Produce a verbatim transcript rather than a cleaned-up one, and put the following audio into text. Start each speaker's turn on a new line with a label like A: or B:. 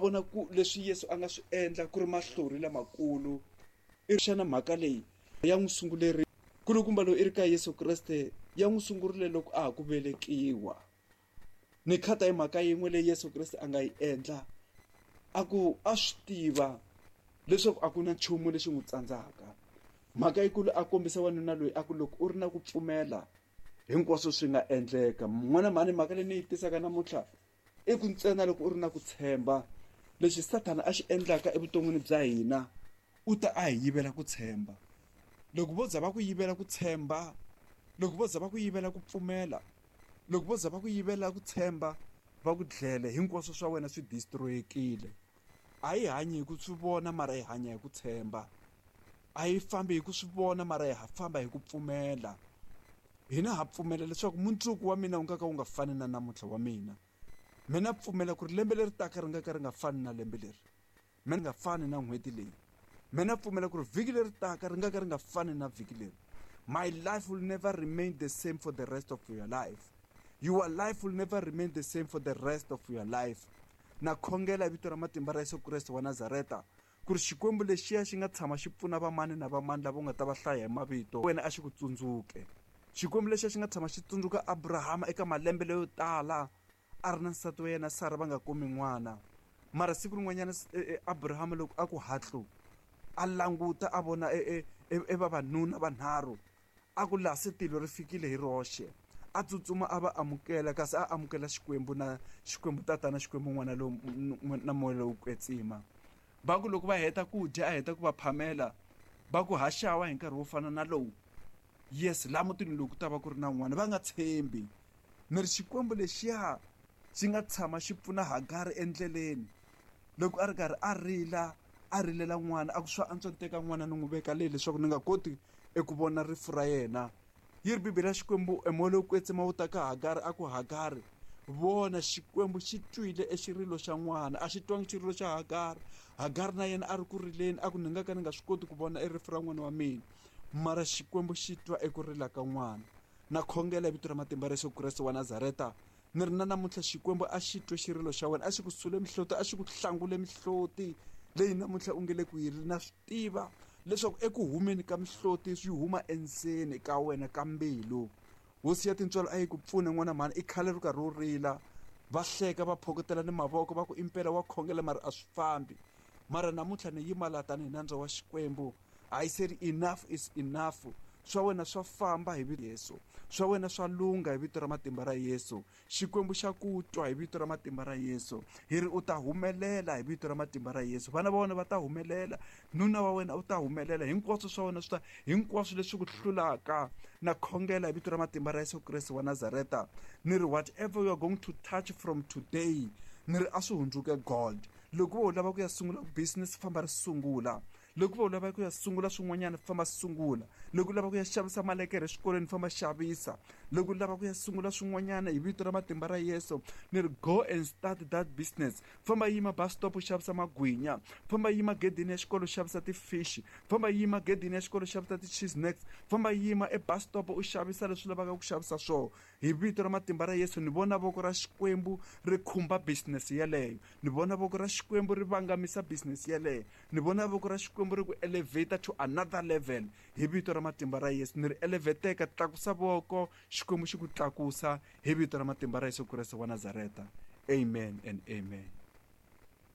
A: vona ku leswi Yesu a nga swi endla ku ri mahlori lamakulu. I xana mhaka leyi ya n'wi sunguleri kulukumba loyi i ri ka Yesu Kreste ya n'wi sungurile loko a ha ku velekiwa. Ni khata hi mhaka yin'we leyi Yesu Kreste a nga yi endla, a ku a swi tiva leswaku a ku na nchumu lexi n'wi tsandzaka. Mhaka yikulu a kombisa wanuna loyi a ku loko u ri na ku pfumela hinkwaswo swi nga endleka. N'wana mhani, mhaka leyi ni yi tisaka namuntlha i ku ntsena loko u ri na ku tshemba. Lexi Sathana a xi endlaka evuton'wini bya hina, u ta a hi yivela ku tshemba. Loko vo za va ku yivela ku tshemba, loko vo za va ku yivela ku pfumela, loko vo za va ku yivela ku tshemba, va ku dlele, hinkwaswo swa wena swi destroyekile. A hi hanyi hi ku swi vona, mara hi hanya hi ku tshemba. A hi fambi hi ku swi vona, mara hi famba hi ku pfumela. Hina ha pfumela leswaku mundzuku wa mina wu nga ka wu nga fani na namuntlha wa mina. Mina pfumela ku ri lembe leri taka ri nga ka ri nga fani na lembe leri. Mina nga fani na n'hweti leyi. Mina pfumela ku ri vhiki leri taka ri nga ka ri nga fani na vhiki leri. My life will never remain the same for the rest of your life. Your life will never remain the same for the rest of your life. Na khongela hi vito ra matimba ra Yesu Kreste wa Nazareta ku ri Xikwembu lexiya xi nga tshama xi pfuna vamani na vamani lava u nga ta va hlaya hi mavito, wena a xi ku tsundzuke. Xikwembu lexiya xi nga tshama xi tsundzuka Abrahama eka malembe leyo tala a ri na nsati wa yena Sara va nga kumi n'wana. Mara siku rin'wanyana Abrahama loko a ku hatlu a languta a vona e e vavanuna vanharhu, a ku laha se tilo ri fikile hi roxe. A tsutsuma a va amukela, kasi a amukela Xikwembu na Xikwembu Tatana, Xikwembu N'wana lowu na Moya lowo Kwetsima. Va ku loko va heta ku dya, a heta ku va phamela, va ku haxawa hi nkarhi wo fana na lowu. Yes, laha mutini lowu ku ta va ku ri na n'wana, va nga tshembi. Ni ri Xikwembu lexiya xi nga tshama xi pfuna Hagari endleleni loko a ri karhi a rila, a rilela n'wana, a ku swa antswa ni teka n'wana ni n'wi veka leyi leswaku ni nga koti eku vona rifu ra yena. Yi ri Bibele ya Xikwembu, e moya lowo kwetsima wu ta ka Hagari, a ku Hagari, vona Xikwembu xi twile exirilo xa n'wana. A xi twangi xirilo xa Hagari. Hagari na yena a ri ku rileni, a ku ni nga ka ni nga swi koti ku vona erifu ra n'wana wa mina, mara Xikwembu xi twa eku rila ka n'wana. Na khongela hi vito ra matimba ra Yesu Kreste wa Nazareta, ni ri na namuntlha Xikwembu a xi twe xirilo xa wena, a xi ku sule mihloti, a xi ku hlangule mihloti leyi namuntlha u nge le ku yi ri. Na swi tiva leswaku eku humeni ka mihloti swi huma endzeni ka wena ka mbilu. Hosi ya tintswalo a yi ku pfune n'wana mhani, i khale ri karhi u rila. Va hleka va phokotela ni mavoko va ku impela wa khongela mara a swi fambi. Mara namuntlha ni yima laha tanihi nandza wa Xikwembu. I said enough is enough. Swa wena swa famba hi vito Yesu. Swa wena swa lungha hi vito ra matimba ra Yesu. Xikwembu xa ku twa hi vito ra matimba ra Yesu. Hi ri u ta humelela hi vito ra matimba ra Yesu. Vana va wena va ta humelela, nuna wa wena u ta humelela, hinkwaswo swa wena swi ta, hinkwaswo leswi ku hlulaka. Na khongela hi vito ra matimba ra Yesu Kreste wa Nazareta. Ni ri whatever you are going to touch from today, ni ri a swi hundzuke gold. Loko vo u lava ku ya sungula business, famba ri sungula. Loko vo u lava ku ya sungula swin'wanyana, famba sungula. Loko u lava ku ya xavisa malekere exikolweni, famba xavisa. Loko u lava ku ya sungula swin'wanyana hi vito ra matimba ra Yesu, ni ri go and start that business. Famba yima bus stop u xavisa magwinya. Famba yima gedeni ya xikolo u xavisa ti-fish. Famba yima gedeni ya xikolo u xavisa ti-cheese snacks. Famba yima e bus stop u xavisa leswi lavaka ku xavisa swona. Hi vito ra matimba ra Yesu, ni vona voko ra Xikwembu ri khumba business yeleyo. Ni vona voko ra Xikwembu ri vangamisa business yeleyo. Ni vona voko ra Xikwembu ri ku elevate to another level. Hi vito ra matimba ra Yesu, ni ri elevateka, tlakusa voko, Xikwembu xi ku tlakusa hi vito ra matimba ra Yesu Kreste wa Nazareta. Amen and amen.